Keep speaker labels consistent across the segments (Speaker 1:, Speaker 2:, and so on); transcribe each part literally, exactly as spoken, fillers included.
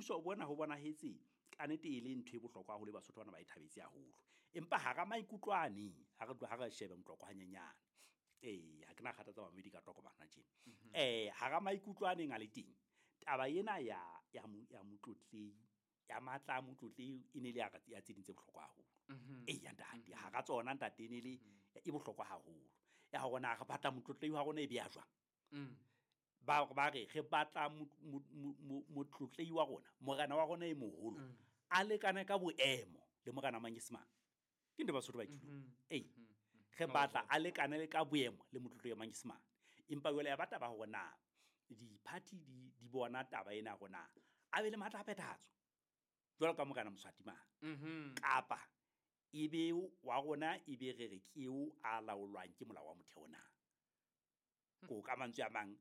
Speaker 1: Boipuso bona ho bonahetse ka nnete e le ntho e bohlokwa haholo, Basotho bana ba e thabetse haholo. Empa hara maikutlo ane ha re ha re shebe moqoqo hanyenyane. Ee, ha ke na kgathatsa bamamedi ka tokomana tjena. Eh, hara maikutlo a neng a le teng, taba ena ya ya ya motlotlehi ya matla a motlotlehi e ne le ya ya tse ding tse bohlokwa haholo. Eya ntate, hara tsona ntate e ne le e bohlokwa haholo. Ya hore na re batla motlotlehi wa rona e be ya jwang. Ba ba re re batla motlotlehi wa rona, morena wa rona e moholo a lekane ka boemo le morena Manyesemane. Ke ntho Basotho ba e tjho. Ee. Re batla a lekane le ka boemo le motlotlehi wa Manyesemane. Empa jwale ya ba taba hore na di-party di di bona taba ena hore na a be le matla a phethahatso jwalo ka morena Moswati mane. Kapa ebe wa rona ebe re re ke eo a laolwang ke molao wa motheo na. Ko ka mantswe a mang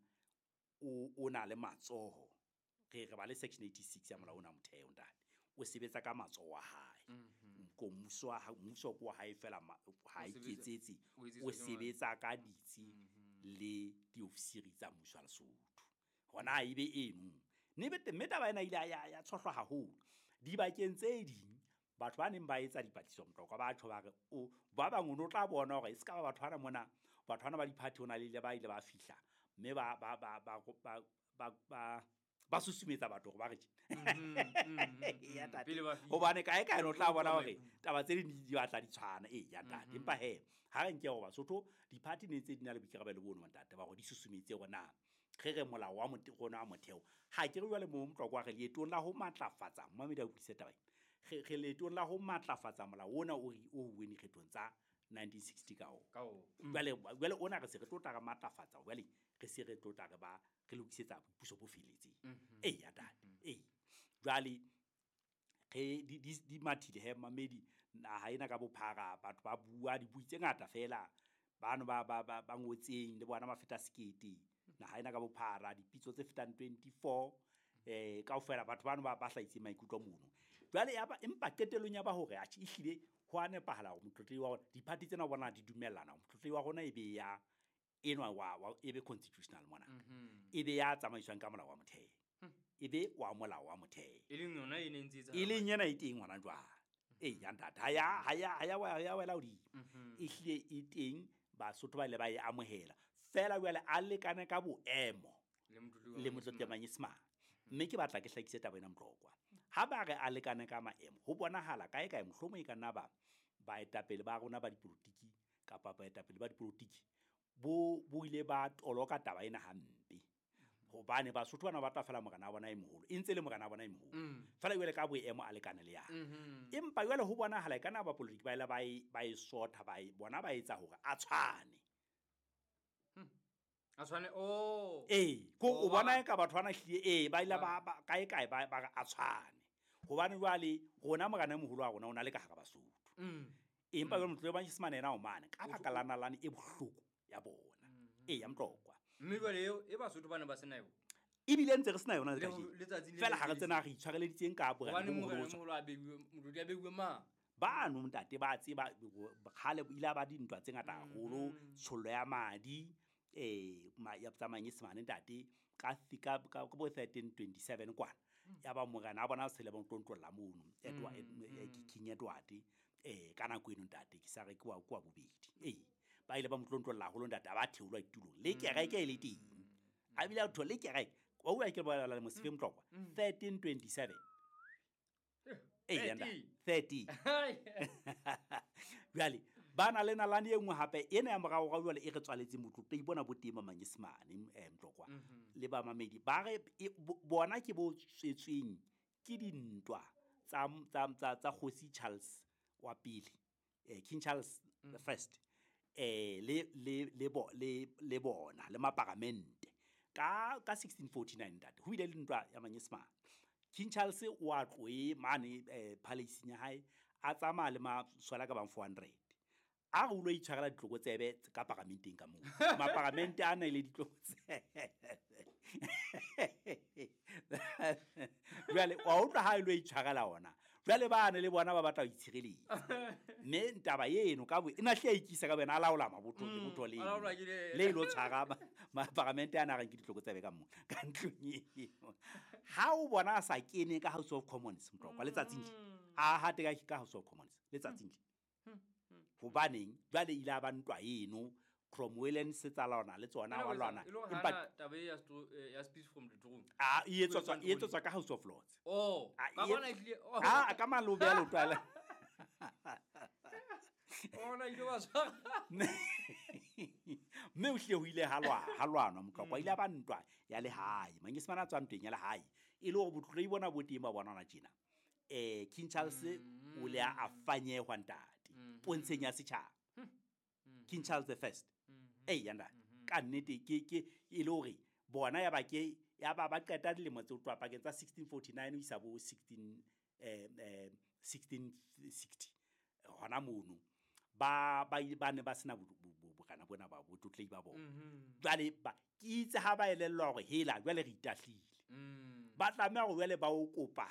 Speaker 1: o o na le matsoho. Re re ba le section eighty-six ya molao ona wa motheo ntate. O sebetsa ka matsoho a hae. Ko mmuso wa mmuso ke wa hae feela ha iketsetse, o sebetsa ka ditsi le diofisiri tsa mmuso wa Lesotho. Hona ebe eno. Mme taba ena ile ya ya tshohlwa haholo. Dibakeng tse ding batho ba neng ba etsa dipatlisiso moqoqo ba tjho ba re o ba bang o no tla bona hore e ska ba batho bana mona, batho bana ba di-party hona le ba ile ba fihla mme ba ba ba ba ba ba ba ba susumetsa batho hore ba re tje. Ya ntate. Hobane kae kae no tla bona hore taba tse ding di batla di tshwana. Ee ya ntate. Empa hee ha re nke hore Basotho di-party ne ntse di na le boikarabelo bono ntate ba hore di susumetse hore na re re molao wa rona wa motheo. Ha ke re jwale mo moqoqo wa re leetong la ho matlafatsa, mmamedi a utlwisise taba ena. Re re leetong la ho matlafatsa molao ona o re o uweng dikgethong tsa nineteen sixty ka ona. Jwale jwale ona re se re tlo tla re matlafatsa, jwale re se re tlo tla re ba re lokisetsa boipuso bo felletseng. Ee ya ntate. Ee. Jwale re di di di mathile he mamedi naha ena ka bophara batho ba bua dibui tse ngata feela bano ba ba ba ba ngotseng le bona ba feta sekete. Naha ena ka bophara dipitso tse fetang twenty-four eh kaofela batho bano ba ba hlahisitseng maikutlo mono. Jwale ya ba empa qetellong ya ba hore atjhe ehlile ho a nepahala hore motlotlehi wa rona di-party tsena o bona di dumellana hore motlotlehi wa rona e be ya enwa wa wa e be constitutional monarch. E be ya tsamaiswang ka molao wa motheo. E be wa molao wa motheo.
Speaker 2: E leng yona e neng ntse
Speaker 1: E leng yena e teng hona jwale. Ee ya ntate, ha ya ha ya ha ya ha ya wela hodimo. Ehlile e teng Basotho ba ile ba e amohela. Feela jwale a lekane ka boemo le motlotlehi wa Manyesemane. Mme ke batla ke hlakise taba ena moqoqwa. Ha ba re a lekane ka maemo, ho bonahala kae kae mohlomong e ka nna ba baetapele ba rona ba dipolotiki kapa baetapele ba dipolotiki bo bo ile ba toloka taba ena hampe. Hobane Basotho bana ba batla feela morena wa bona e moholo, e ntse le morena wa bona e moholo. Feela jwale ka boemo a lekane le yana. Empa jwale ho bonahala e ka nna ba polotiki ba ile ba e ba e sotha ba e bona ba etsa hore a tshwane.
Speaker 2: A tshwane oh.
Speaker 1: Ee, ko o bona eka batho bana hlile ee ba ile ba kae kae ba ba a tshwane. Hobane jwale rona morena e moholo wa rona o na le ka hara Basotho. Empa jwale motlotlehi wa Manyesemane yena o mane ka baka la nalane e bohloko ya bona. Ee ya moqoqwa.
Speaker 2: Mme jwale eo e Basotho bana ba sena yona.
Speaker 1: Ebile ntse re sena yona le
Speaker 2: Le
Speaker 1: kajeno.
Speaker 2: letsatsi le
Speaker 1: Feela ha re
Speaker 2: le
Speaker 1: tsena re itshwareleditseng ka borena
Speaker 2: Hobane
Speaker 1: bo
Speaker 2: morena
Speaker 1: moholo.
Speaker 2: moholo a beuwe, motlotlehi a beuwe mang?
Speaker 1: Bano ntate ba tseba kgale ile ba dintwa tse ngata haholo, tshollo ya madi eh ya tsa Manyesemane ntate ka ka ka bo thirteen twenty-seven kwana. Ya ba morena a bona sele ba ntlontlolla mono Edward King Edward eh ka nako eno ntate ke sa re ke wa kwa bobedi. Ee ba ile ba motlontlolla haholo ntate a ba theolwa ditulong le kereke e le teng. A bile a tho le kereke wa utlwa ke bolela le Mosife Motlokwa thirteen twenty-seven. Ee ntate thirteen. Jwale ba na le nalane e nngwe hape ena ya morao ga jwale e re tswaletseng motlotlehi bona bo teng ba Manyesemane eh Motlokwa le ba mamedi ba re bona ke bo tswetsweng ke dintwa tsa tsa tsa tsa Kgosi Charles wa pele eh King Charles the First eh le le le bo le le bona le maparamente ka ka sixteen forty-nine ntate ho ile le ntwa ya Manyesemane. King Charles o a tloe mane eh palace ya hae a tsamaya le maswala ka bang four hundred. A re o lo itshwarela ditlokotsebe ka paramenteng ka moo. Maparamente a na le ditlokotsebe. Jwale wa utlwa ha e lo itshwarela ona. Jwale ba ne le bona ba batla ho itshireletsa. Mme taba eno ka bo e na hle a ikisa ka bena a laola mabotho le botho le. Le lo tshwara maparamente a na reng ke ditlokotsebe ka moo ka ntlong eo. Ha o bona a sa kene ka House of Commons Motlokwa letsatsing le a hate ka ka House of Commons letsatsing le hobaneng jwale ile a ba ntwa eno Cromwell se tsa lona le tsona wa lwana
Speaker 2: empa taba ya ya speech from the throne
Speaker 1: a e etswa e etswa ka House of Lords
Speaker 2: oh ka bona ile
Speaker 1: a ka malobe ya lotwala
Speaker 2: ona ile wa tshwara
Speaker 1: mme o hle ho ile ha lwa ha lwanwa Motlokwa ile ba ntwa ya lehae Manyesemane a tswa ntweng ya lehae e le hore botlotlehi bona bo teng ba bona hona tjena eh King Charles o le a fanyehwa ntate pontsheng ya setjhaba King Charles the First eh yanda ka nnete ke ke e le hore bona ya ba ke ya ba ba qeta dilemo tse tloha pakeng tsa sixteen forty-nine ho isa bo sixteen eh eh sixteen sixty hona mono ba ba ba ne ba sena bokana bona ba botlotlehi ba bona jwale ba ke itse ha ba elellwa hore hela jwale re itahlile ba tlameha hore jwale ba o kopa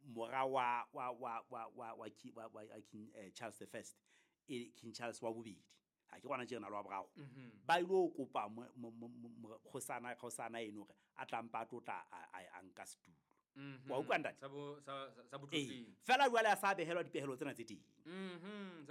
Speaker 1: mora wa wa wa wa wa wa wa King Charles the First e King Charles wa bobedi ha ke kwana tjena lo wa boraro ba ile kopa kgosana kgosana eno hore a tlampa a tlotla a nka setulo wa utlwa ntate
Speaker 2: sa bo sa sa botlotlehi
Speaker 1: fela jwale a sa behelwa dipehelo tsena tse teng
Speaker 2: mhm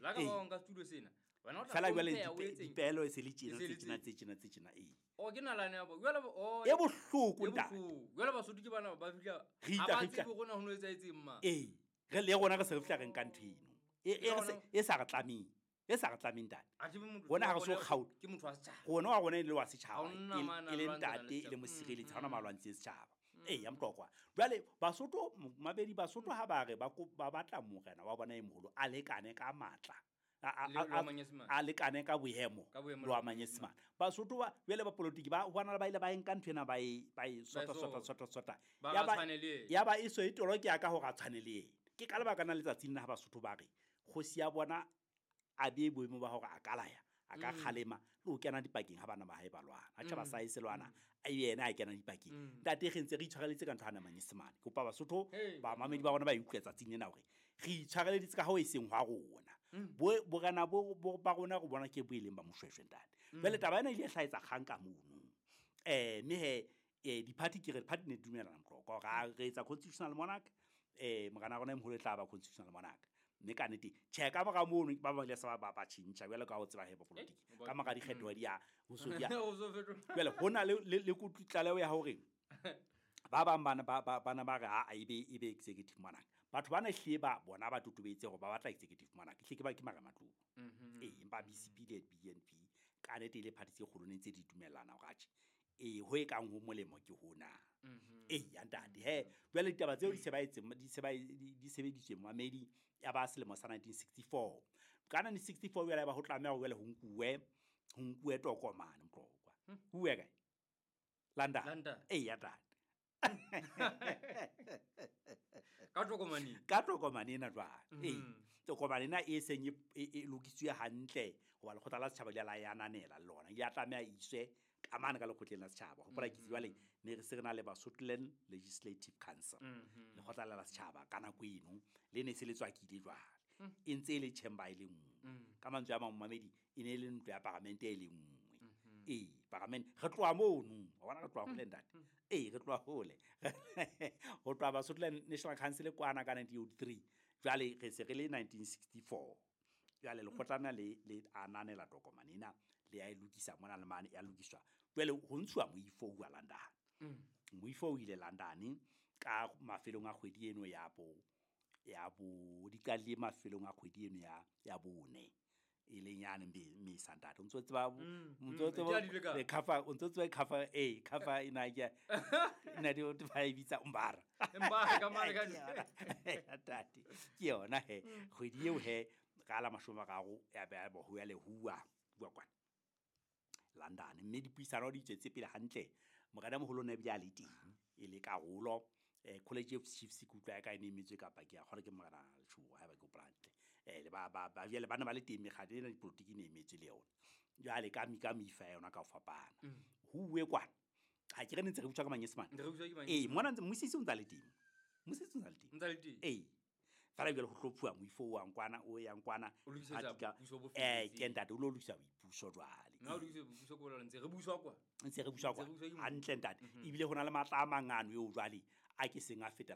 Speaker 2: la ka ba nka setulo sena wena o tla
Speaker 1: fela jwale dipehelo e se le tjena tse tjena tse tjena tse tjena eh
Speaker 2: o ke nalane ya bo jwale o
Speaker 1: e bohloko ntate
Speaker 2: jwale Basotho ke bana ba fihla ha ba tsebe rona ho no etsaetseng ma
Speaker 1: eh re le rona re se re fihla re nka ntho eno e e sa re tlameng e sa re tlameng ntate rona ha re so kgaola
Speaker 2: ke motho wa setjhaba
Speaker 1: rona wa rona e le wa setjhaba e le ntate e le mosireletsi ha ona malwantsi a setjhaba eh ya Motlokwa jwale Basotho mabedi Basotho ha ba re ba ba batla morena wa bona e moholo a lekane ka matla a lekane ka boemo lo wa Manyesemane Basotho ba jwale ba politiki ba bona ba ile ba nka ntho ena ba e ba e sota sota sota sota ya ba ya ba e so e toloke ya ka hore a tshwane le yena ke ka lebaka na letsatsing la ha Basotho ba re kgosi ya bona a be boemo ba hore a ka laya a ka kgalema le ho kena dipakeng ha bana ba hae ba lwana ha tjhaba sa e se lwana a yena a kena dipakeng ntate re ntse re itshwareleditse ka ntho hana Manyesemane ke kopa Basotho ba mamedi ba rona ba utlwe tsatsing lena hore re itshwareleditse ka ho e seng hwa rona bo borana bo ba rona go bona ke bo eleng ba Moshweshwe ntate jwale taba ena ile hlaetsa kgang ka mono eh mme he eh di-party ke re party ne dumelana Motlokwa hore re etsa constitutional monarch eh morena rona e moholo e tla ba constitutional monarch mme ka nnete tjhe ka mora mono ba bang le sa ba ba tjhentjha jwale ka ho tseba he politiki ka mora dikgetho di ya ho so di ya jwale hona le le kutlaleho ya hore ba bang bana ba bana ba re ha e be e be executive monarch batho bana hle ba bona ba totobetse hore ba batla executive monarch hle ke ba ke mara matlong eh empa B C P le B N P ka nnete ile party tse kgolo ne ntse di dumellana hore atjhe eh ho e kang ho molemo ke hona eh ya ntate he jwale ditaba tseo di se ba etse di se ba di sebeditswe mamedi ya ba selemo sa nineteen sixty-four ka nineteen sixty-four jwale ba ho tlameha ho jwale ho nkuwe ho nkuwe tokomane Motlokwa huwe kae London eh ya ntate
Speaker 2: ka tokomane
Speaker 1: ka tokomane ena jwale eh tokomane ena e seng e lokisitswe hantle hoba lekgotla la setjhaba le la ya ananela le lona ya tlameha iswe ka mane ka lekgotleng la setjhaba hopola ke jwale ne re se re na le Basotholand Legislative Council lekgotla la setjhaba ka nako eno le ne se le tswakile jwale e ntse e le chamber e le nngwe ka mantswe a mang mamedi e ne e le ntlo ya paramente e le nngwe eh paramente re tloha mono wa bona re tloha hole ntate eh re tloha hole ho tloha Basotholand National Council kwana ka nineteen eighty-three jwale re se re le nineteen sixty-four jwale lekgotlana le le ananela tokomane ena le ya e lokisa mona le mane ya lokiswa jwale ho ntshuwa moifo wa London moifo o ile London ka mafelong a kgwedi eno ya bo ya bo di ka le mafelong a kgwedi eno ya ya bone e leng yane me santate o ntso tseba o ntso tseba le cover o ntso tseba cover eh cover ina ke ina di o ba bitsa umbara
Speaker 2: umbara ka mare ka
Speaker 1: ntate ke yona he kgwedi eo he ka la mashome a mararo ya ba bo ya le huwa bua kwana London mme dipuisano di tswetse pele hantle morena moholo ne bile a le teng e le karolo eh College of Chiefs ke utlwa ka ene emetswe kapa ke a kgore ke morena Letshogo ha ba ke hopola hantle eh le ba ba ba jwale bana ba le teng mekgatlo ena dipolotiki ne emetswe le yona jwale ka mi ka mifa yona ka ho fapana ho uwe kwana ha ke re ne ntse re butswa ka Manyesemane eh mona ntse mmusisi o ntsa le teng mmusisi o ntsa le teng
Speaker 2: ntsa le teng
Speaker 1: eh Fela jwale ho hlophuwa moifo o yang kwana, o yang kwana.
Speaker 2: O lokisetsa
Speaker 1: a tika-
Speaker 2: boipuso bo
Speaker 1: Eh,
Speaker 2: felletseng.
Speaker 1: ke ntate, o lo lokisa boipuso jwale.
Speaker 2: Mme ha o lokisa boipuso ke bolela ntse re buswa kwa.
Speaker 1: Ntse re buswa
Speaker 2: Ntse
Speaker 1: kwa.
Speaker 2: re buswa ke
Speaker 1: Hantle ntate. Ebile ho na le matla a mangano eo jwale a ke seng a fetela